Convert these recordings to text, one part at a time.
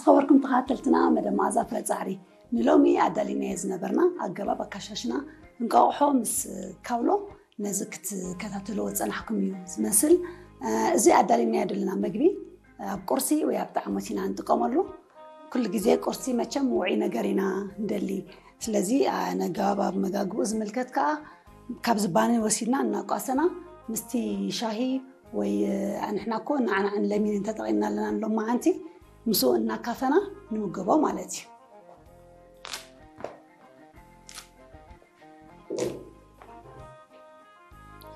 ዝኸበርኩም ተኸታተልትና መደብ መኣዛ ፍረ ጻዕሪ፣ ንሎሚ ኣዳሊናዮ ዝነበርና ኣገባብ ኣካሻሽና እንቋቑሖ ምስ ካውሎ ነዚ ክትከታተልዎ ዝጸናሕኩም እዩ ዝመስል። እዚ ኣዳሊናዮ ዘለና መግቢ ኣብ ቁርሲ ወይ ኣብ ጣዕሞት ኢና ንጥቀመሉ። ኩሉ ግዜ ቁርሲ መቸም ውዑይ ነገር ኢና ንደሊ። ስለዚ ነጋባብ መጋግቡ ዝምልከት ከዓ ካብዚ ባኒ ወሲድና እናቋሰና ምስቲ ሻሂ ወይ ኣንሕና እኮ ንዓናዕን ለሚንን ተጠቒምና ኣለና ንሎም መዓንቲ ምስኡ እናካፈና ንምገቦ ማለት እዩ።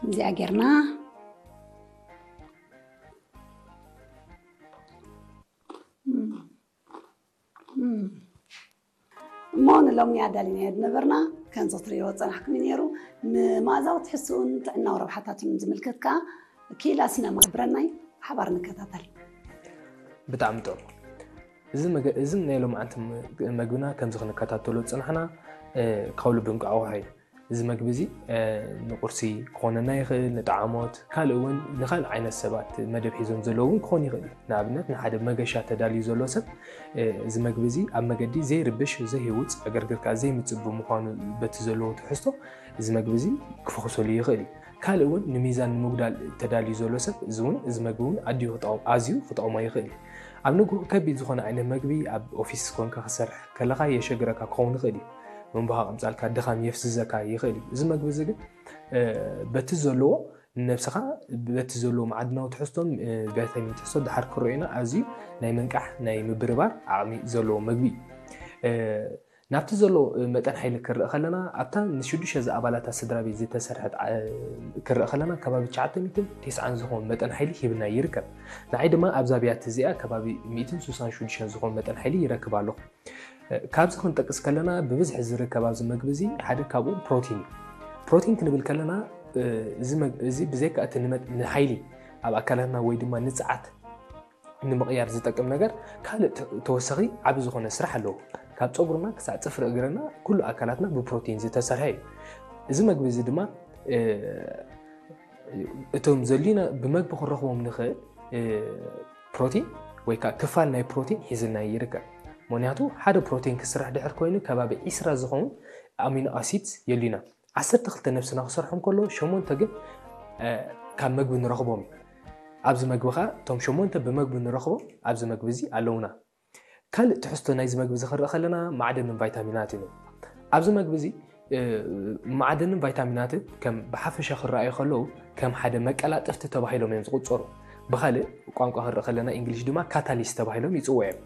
እዚኣ ጌርና እሞ ንሎሚ ኣዳሊናዮ ዝነበርና ከምዚ ክትርእይዎ ዝጸናሕኩም እዩ ነይሩ። ንመኣዛዊ ትሕዝትኡን ጥዕናዊ ረብሓታቱን ዝምልከት ከኣ ክኢላ ስነ ማሕበረናይ ሓባር ንከታተል። ብጣዕሚ ጥሩ። እዚ መገ- እዚ ናይ ሎማዓንቲ ም- መግብና ከምዚ ክንከታተሎ ዝጸናሕና እ፣ ካብ ልቢ እንቋቑሖ እዩ። እዚ መግቢ እዚ እ፣ ንቁርሲ ክኾነና ይኽእል፣ ንጠዓሞት፣ ካልእ እውን ንኻልእ ዓይነት ሰባት መደብ ሒዞም ዘለዉ እውን ክኾን ይኽእል እዩ። ንኣብነት ንሓደ መገሻ ተዳልዩ ዘሎ ሰብ እ፣ እዚ መግቢ እዚ ኣብ መገዲ ዘይርብሽ፣ ዘይህውፅ፣ ዕግርግር ከዓ ዘይምፅእ ብምዃኑ በቲ ዘለዎ ትሕዝቶ እዚ መግቢ እዚ ክፈኹሰሉ ይኽእል እዩ። ካልእ እውን ንሚዛን ንምጉዳል ተዳልዩ ዘሎ ሰብ እዚ እውን እዚ መግቢ እውን ኣድዩ ክጠቕም- ኣዝዩ ክጠቕሞ ይኽእል እዩ። ኣብ ንግሆ ከቢድ ዝኾነ ዓይነት መግቢ ኣብ ኦፊስ ኮንካ ክሰርሕ ከለኻ የሸግረካ ክኸውን ይኽእል እዩ። መንቦኻ ቀምጻልካ ድኻም የፍዝዘካ ይኽእል እዩ። እዚ መግቢ እዚ ግን እ፣ በቲ ዘለዎ ንነብስኻ በቲ ዘለዎ መዓድናዊ ትሕዝቶን እ፣ ቫይታሚን ትሕዝቶ ድሓር ክረኦና ኣዝዩ ናይ ምንቃሕ ናይ ምብርባር ዓቕሚ ዘለዎ መግቢ እዩ። እ፣ ናብቲ ዘሎ መጠን ሓይሊ ክርእ ከለና ኣብታ ንሽዱሽተ ዝኣባላታ ስድራ ቤት ዝተሰርሐት ዓ- ክርእ ከለና ከባቢ ትሽዓተ ሚእትን ተስዓን ዝኾን መጠን ሓይሊ ሂብና ይርከብ። ንዓይ ድማ ኣብዛ ብያቲ እዚኣ ከባቢ ሚእትን ስሳን ሽዱሽተን ዝኾን መጠን ሓይሊ ይረክብ ኣለኹ። እ፣ ካብዚ ክንጠቅስ ከለና ብብዝሒ ዝርከብ ኣብዚ መግቢ እዚ ሓደ ካብኡ ፕሮቲን እዩ። ፕሮቲን ክንብል ከለና እ፣ እዚ መግ- እዚ ብዘይካ እቲ ንመጥ- ንሓይሊ ኣብ ኣካላትና ወይ ድማ ንፅዓት ንምቕያር ዝጠቅም ነገር ካልእ ተ- ተወሳኺ ዓቢ ዝኾነ ስራሕ ኣለዎ። ካብ ፀጉርና ክሳዕ ፅፍሪ እግርና ኩሉ ኣካላትና ብፕሮቲን ዝተሰርሐ እዩ። እዚ መግቢ እዚ ድማ እ፣ እቶም ዘድልዩና ብመግቢ ክንረኽቦም ንኽእል እ፣ ፕሮቲን ወይ ከዓ ክፋል ናይ ፕሮቲን ሒዝልና ይርከብ። ምክንያቱ ሓደ ፕሮቲን ክስራሕ ድሕር ኮይኑ ከባቢ ዒስራ ዝኸውን ኣሚኖ ኣሲድ የድልዩና። ዓሰርተ ክልተ ነብስና ክሰርሖም ከሎ ሸሞንተ ግን እ፣ ካብ መግቢ ንረኽቦም እዩ። ኣብዚ መግቢ ከዓ እቶም ሸሞንተ ብመግቢ ንረኽቦም ኣብዚ መግቢ እዚ ኣለውና። ካልእ ትሕዝቶ ናይዚ መግቢ እዚ ክንርኢ ከለና ማዕደንን ቫይታሚናትን እዩ። ኣብዚ መግቢ እዚ እ፣ ማዕደንን ቫይታሚናትን ከም ብሓፈሻ ክረኣዩ ከለዉ ከም ሓደ መቀላጠፍቲ ተባሂሎም እዮም ዝቑፀሩ። ብኻልእ ቋንቋ ክንርኢ ከለና እንግሊሽ ድማ ካታሊስት ተባሂሎም ይፅውዑ እዮም።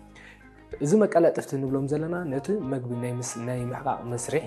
እዚ መቀላጠፍቲ ንብሎም ዘለና ነቲ መግቢ ናይ ምስ- ናይ ምሕቃቕ መስርሕ